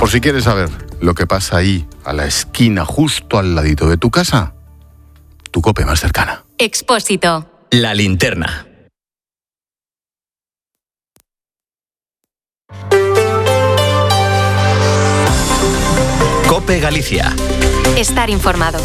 Por si quieres saber lo que pasa ahí, a la esquina, justo al ladito de tu casa, tu COPE más cercana. Expósito. La linterna. COPE Galicia. Estar informado.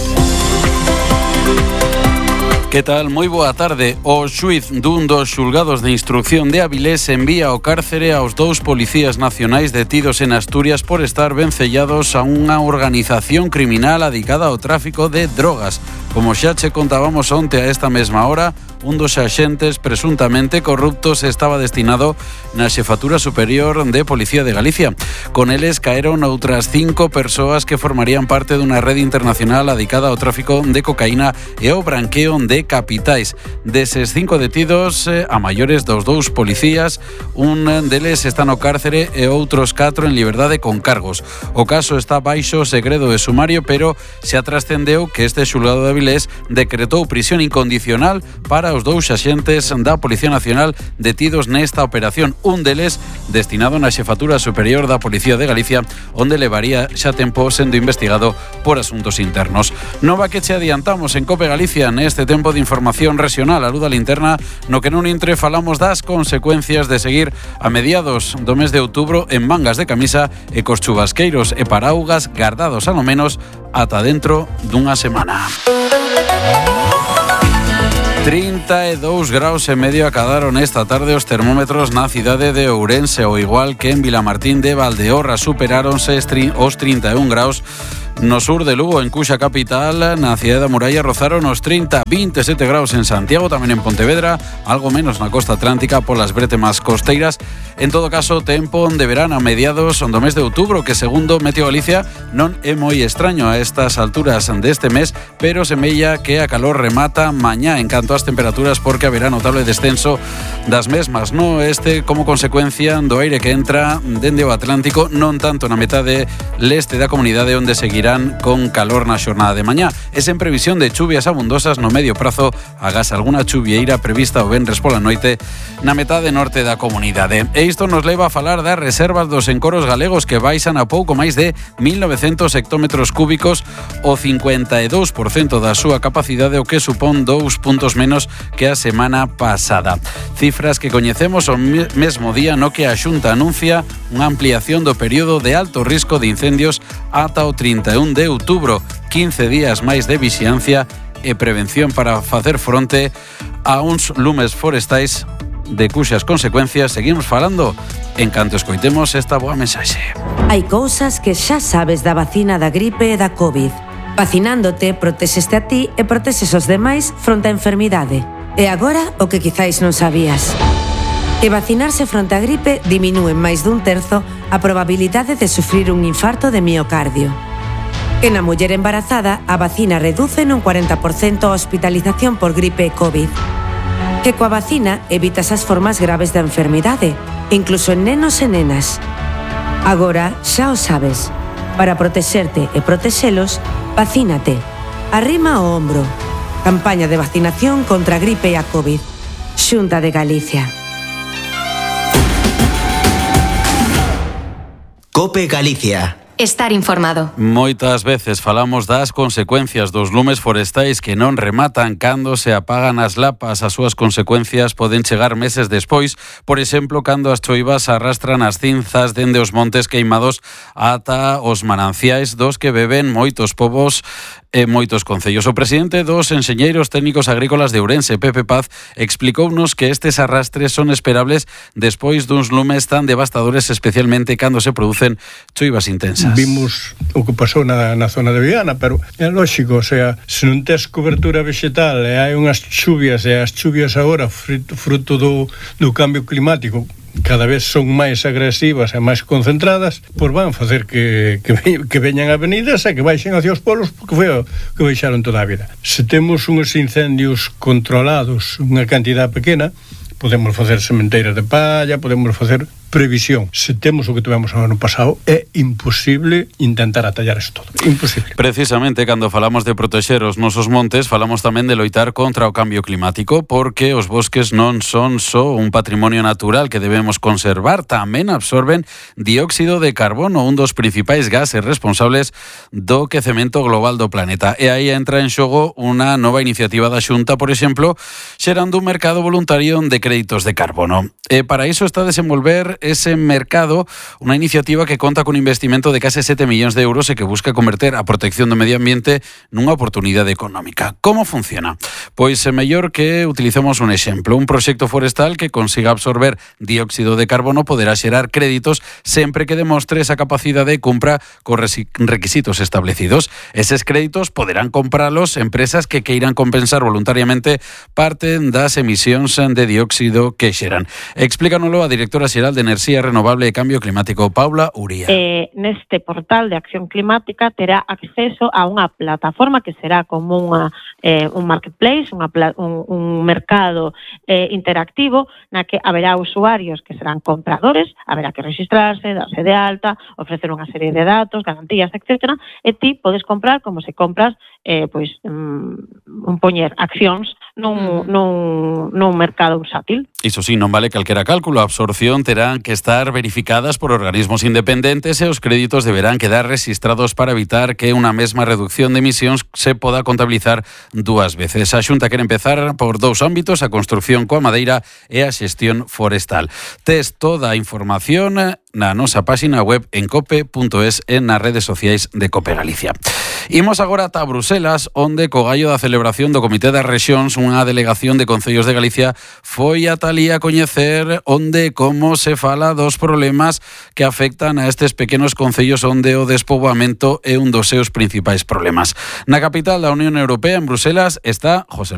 Que tal? Moi boa tarde. O xuíz dun dos xulgados de instrucción de Avilés envía ao cárcere aos 2 policías nacionais detidos en Asturias por estar vencellados a unha organización criminal adicada ao tráfico de drogas. Como xa che contábamos onte a esta mesma hora, un dos axentes presuntamente corruptos estaba destinado na Xefatura Superior de Policía de Galicia. Con eles caeron outras 5 persoas que formarían parte dunha rede internacional adicada ao tráfico de cocaína e ao branqueo de capitais. Deses 5 detidos, a maiores dos 2 policías, un deles está no cárcere e outros 4 en liberdade con cargos. O caso está baixo segredo de sumario, pero se trascendeu que este xulgado de Avilés decretou prisión incondicional para os 2 axentes da Policía Nacional detidos nesta operación. Un deles destinado na Xefatura Superior da Policía de Galicia, onde levaría xa tempo sendo investigado por asuntos internos. Nova que che adiantamos en COPE Galicia neste tempo de información regional. A luz da linterna, no que non intre falamos das consecuencias de seguir a mediados do mes de outubro en mangas de camisa e cos chubasqueiros e paraugas gardados a lo menos ata dentro dunha semana. 32 graus e medio acadaron esta tarde os termómetros na cidade de Ourense, ao igual que en Vilamartín de Valdeorras. Superáronse os 31 graus no sur de Lugo, en Cuxa capital. Na cidade da Muralla rozaron os 30, 27 graus en Santiago, tamén en Pontevedra, algo menos na costa atlántica polas bretemas costeiras. En todo caso, tempo de verán a mediados do mes de outubro, que segundo Meteo Galicia non é moi extraño a estas alturas deste mes, pero semella que a calor remata mañá en canto ás temperaturas, porque haberá notable descenso das mesmas no oeste como consecuencia do aire que entra dende o Atlántico, non tanto na metade leste da comunidade, onde seguirá con calor na xornada de mañá. E sen previsión de chuvias abundosas no medio prazo, agás algunha chuvieira prevista o venres pola noite na metade norte da comunidade. E isto nos leva a falar das reservas dos encoros galegos, que baixan a pouco máis de 1.900 hectómetros cúbicos, o 52% da súa capacidade, o que supón 2 puntos menos que a semana pasada. Cifras que coñecemos o mesmo día no que a Xunta anuncia unha ampliación do período de alto risco de incendios ata o 31 de outubro, 15 días máis de vixiancia e prevención para facer fronte a uns lumes forestais de cuxas consecuencias seguimos falando en canto escoitemos esta boa mensaxe. Hai cousas que xa sabes da vacina da gripe e da COVID. Vacinándote, protexeste a ti e protexes os demais fronte á enfermidade. E agora, o que quizáis non sabías. Que vacinarse fronte á gripe diminúe en máis dun terzo a probabilidade de sufrir un infarto de miocardio. Que na muller embarazada a vacina reduce nun 40% a hospitalización por gripe e COVID. Que coa vacina evitas as formas graves da enfermidade, incluso en nenos e nenas. Agora xa o sabes. Para protexerte e protexelos, vacínate. Arrima o ombro. Campaña de vacinación contra a gripe e a COVID. Xunta de Galicia. COPE Galicia. Estar informado. Moitas veces falamos das consecuencias dos lumes forestais que non rematan cando se apagan as lapas. As súas consecuencias poden chegar meses despois, por exemplo, cando as choivas arrastran as cinzas dende os montes queimados ata os mananciais dos que beben moitos povos e moitos concellos. O presidente dos enxeñeiros técnicos agrícolas de Ourense, Pepe Paz, explicounos que estes arrastres son esperables despois duns lumes tan devastadores, especialmente cando se producen choivas intensas. Vimos o que pasou na zona de Viana, pero é lógico, o sea, se non tes cobertura vegetal e hai unhas chuvias, e as chuvias agora fruto do cambio climático cada vez son máis agresivas e máis concentradas, pois van facer que veñan avenidas e que baixen hacia os polos, porque foi o que baixaron toda a vida. Se temos uns incendios controlados, unha cantidad pequena, podemos facer sementeiras de palla, podemos facer previsión. Se temos o que tivemos o ano pasado, é imposible intentar atallar isto todo. Imposible. Precisamente, cando falamos de protexer os nosos montes, falamos tamén de loitar contra o cambio climático, porque os bosques non son só un patrimonio natural que debemos conservar, tamén absorben dióxido de carbono, un dos principais gases responsables do quecemento global do planeta. E aí entra en xogo unha nova iniciativa da Xunta, por exemplo, xerando un mercado voluntario de créditos de carbono. E para iso está a desenvolver ese mercado unha iniciativa que conta con un investimento de case 7 millóns de euros e que busca converter a protección do medio ambiente nunha oportunidade económica. Como funciona? Pois é mellor que utilicemos un exemplo. Un proxecto forestal que consiga absorber dióxido de carbono poderá xerar créditos sempre que demostre esa capacidade e cumpra cos requisitos establecidos. Eses créditos poderán compralos empresas que queiran compensar voluntariamente parte das emisións de dióxido que xeran. Explícanoslo a directora xeral de Enerxía Renovable e Cambio Climático, Paula Uría. Neste portal de acción climática terá acceso a unha plataforma que será como un marketplace, un mercado interactivo na que haberá usuarios que serán compradores, haberá que registrarse, darse de alta, ofrecer unha serie de datos, garantías, etc. E ti podes comprar como se compras poñer accións nun mercado bursátil. Iso sí, non vale calquera cálculo. A absorción terán que estar verificadas por organismos independentes e os créditos deberán quedar registrados para evitar que unha mesma reducción de emisións se poda contabilizar dúas veces. A Xunta quere empezar por dous ámbitos, a construción coa madeira e a xestión forestal. Tes toda a información na nosa páxina web en cope.es e nas redes sociais de Cope Galicia. Imos agora ata Bruselas, onde co gallo da celebración do Comité das Rexións, unha delegación de Concellos de Galicia foi ata alí a coñecer onde como se fala dos problemas que afectan a estes pequenos concellos onde o despoboamento é un dos seus principais problemas. Na capital da Unión Europea, en Bruselas, está José